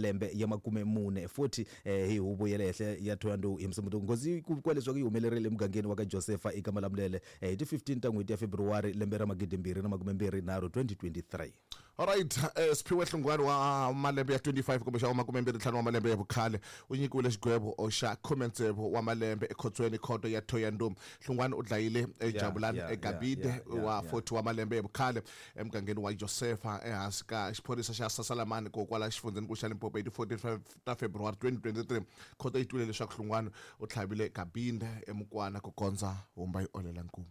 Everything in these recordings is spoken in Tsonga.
Malembe ya 40, 40, hi huvo ya le henhla ya Thohoyandou hi Musumbunuko. Nghozi ku vikiwa leswaku yi humelerile emugangeni wa ka Josefa eka Malamulele hi ti 15 ta n'hweti ya February lembe ra 2023, 2023. Alright, Siphiwe Hlungwani wa malembe ya 25 kumbe xa wa 25 wa malembe ya vukhale u nyikiwile xigwevo xa khume-tsevu wa malembe ekhotsweni khoto ya Thohoyandou. Hlungwani u dlayile Jabulani Gabide wa 40 wa malembe ya vukhale emugangeni wa Josefa ehansi ka xiphorisa xa Sasalamani ko kwala xifundzhenikulu xa Limpopo hi ti 14 ta February 2023. Khoto yi twile leswaku Hlungwani u tlhavile Gabinde emukwana ku kondza humba yi olela nkumu.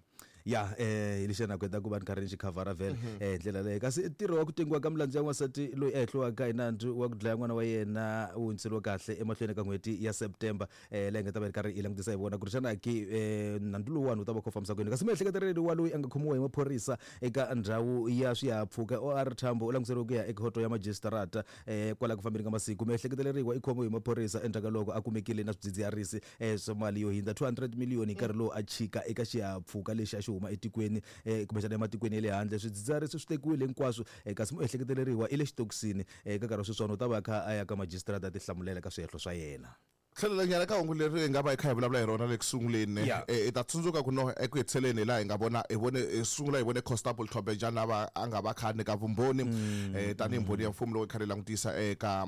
Ya, hi lexi na ku va ni karhi ni xi khavhara vhele hi ndlela leyo. Kasi ntirho wa ku tengiwa ka milandzu ya n'wansati loyi a hehliwaka hi nandzu wa ku dlaya n'wana wa yena wu hundziseriwe kahle emahlweni ka n'hweti ya September, leyi nga ta va yi ri karhi yi langutisa hi vona ku ri xana ke nandzu lowuwani wu ta va kha wu fambisa ku yini. Kasi miehleketeleli wa loyi a nga khomiwa hi maphorisa eka ndhawu ya swihahampfhuka OR Tambo u languteriwe ku ya ekhoto ya majisitarata kwala ku fambeni ka masiku. Miehleketeleriwa i khomiwe hi maphorisa endzhaku ka loko a kumekile na swidzidziharisi swa mali yo hindza 200 miliyoni hi nkarhi lowu a chika eka xihahampfhuka lexi a xi huma etikweni kumbexana ematikweni ya le handle. Swidzidziharisi swi tekiwile hinkwaswo, kasi muehleketeleriwa i le xitokisini. Eka nkarhi wa sweswiwani u ta va a kha a ya ka majisitarata a tihlamulela ka swihehlo swa yena. Tlhelela nyana ka hungu leri hi nga va hi kha hi vulavula hi rona le ku sunguleni. I ta tsundzuka ku no eku hetiseleni hi laha hi nga vona hi vone hi sungula hi vone Constable Thobejane a va a nga va kha a nyika vumbhoni tanihi mbhoni ya mfumo loko hi kha hi langutisa eka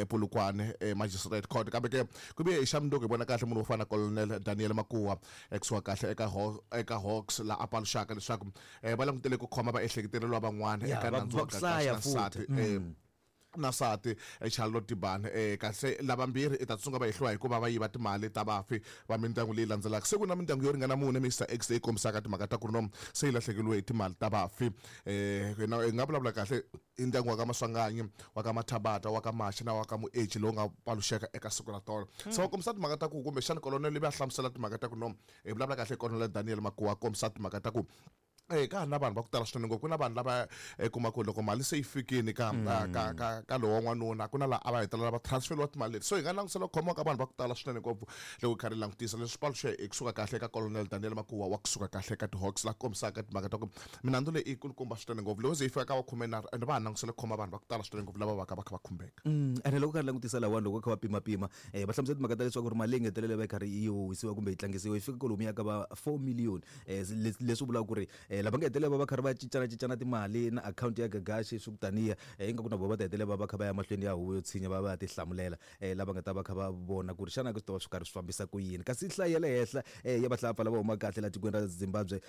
Polokwane Magistrate Court. Kambe ke ku vuye hi xa mundzuku hi vona kahle munhu wo fana na Colonel Daniel Makuwa kusuka kahle eka eka Hawks laha a paluxaka leswaku va langutele ku khoma vaehleketeleriwa van'wana eka nandzu wa Gagash na nsati na nsati Charlotte Tibane. Kahle lavambirhi i ta tsunga va hehliwa hikuva va yiva timali ta vafi va mindyangu leyi landzelaka. Se ku na mindyangu yo ringana mune Mister X leyi kombisaka timhaka ta ku ri no se yi lahlekeriwe hi timali ta vafi. Hi nga vulavula kahle i ndyangu wa ka Maswanganyi, wa ka Mathabata, wa ka Mashi na wa ka Mueji lowu nga paluxeka eka siku ra tolo. Se va kombisa timhaka ta ku kumbexana Colonel ivi a hlamusela timhaka ta ku no hi vulavula kahle hi Colonel Daniel Makuwa a kombisa timhaka ta ku ka ha ri na vanhu va ku tala swinene ngopfu. Ku na vanhu lava i kuma ku loko mali se yi fikini ka ka ka ka lowa n'wanuna ku na laha a va hetelela va transferiwa timali leti. So hi nga langutisela ku khomiwa ka vanhu va ku tala swinene ngopfu loko hi karhi hi langutisa leswi paluxe hi kusuka kahle eka Colonel Daniel Makuwa wa kusuka kahle eka ti-Hawks laha kombisaka timhaka ta ku minandzu leyi i yi kulukumba swinene ngopfu loko ze yi fika ka va khumenharhu ende va ha langutisele ku khoma vanhu va ku tala swinene ngopfu lava va ka va kha va khumbeka. Ene loko u karhi langutisa lahawani loko va kha va pimapima va hlamusela timhaka ta leswaku ri mali leyi nga hetelela va yi karhi yi howisiwa kumbe yi tlangisiwa yi fika kwalomuya ka va 4 million. Leswi vulaka ku ri lava nga hetelela va va karhi va cincana cincana timali na akhawunti ya Gagashi swi ku taniya, ingaku na vona va ta hetelela va va kha va ya mahlweni ya huvo yo tshinya va va ya tihlamulela, lava nga ta va kha va vona ku ri xana swi ta va swi karhi swi fambisa ku yini. Kasi nhlayo ya le henhla ya vahlapfa lava humaka kahle laha tikweni ra Zimbabwe,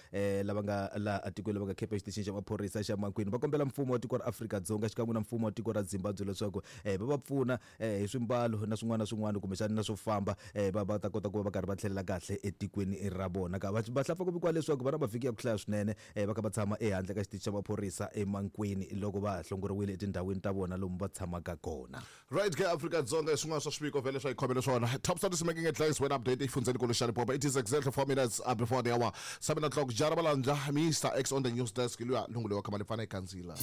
lava nga laha etikweni lava nga khepha exitichini xa maphorisa xa Mankweng va kombela mfumo wa tiko ra Afrika-Dzonga xikan'we na mfumo wa tiko ra Zimbabwe leswaku va va pfuna hi swimbalo na swin'wana na swin'wana kumbexana na swo famba, va va ta kota ku va va karhi va tlhelela kahle etikweni ra vona. Ka vahlapfa ku vikiwa leswaku va na mavhiki ya ku hlaya swinene, va kha va tshama ehandle ka xitichi xa maphorisa eMankweng loko va ha hlongoriwile etindhawini ta vona lomu va tshamaka kona. Right ke Afrika-Dzonga hi swin'wana swa swiviko vhele swa hi khomele swona. Top stories making headlines when update exifundzhenikulu xa Limpopo. It is exactly 4 minutes before the hour. 7 o'clock. Jara Malandza, Mr X on the news desk. Luya lungu leyi wa khama lipfana ekandzila.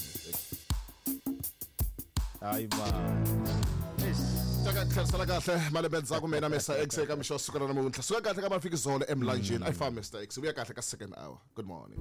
Hayi man. Taka tlherisela kahle malembe ndzhaku mina Mr X eka mixo wa siku ra namuntlha. Suka kahle ka mafikizolo emlanjeni. I fa Mr X. Vuya kahle ka second hour. Good morning.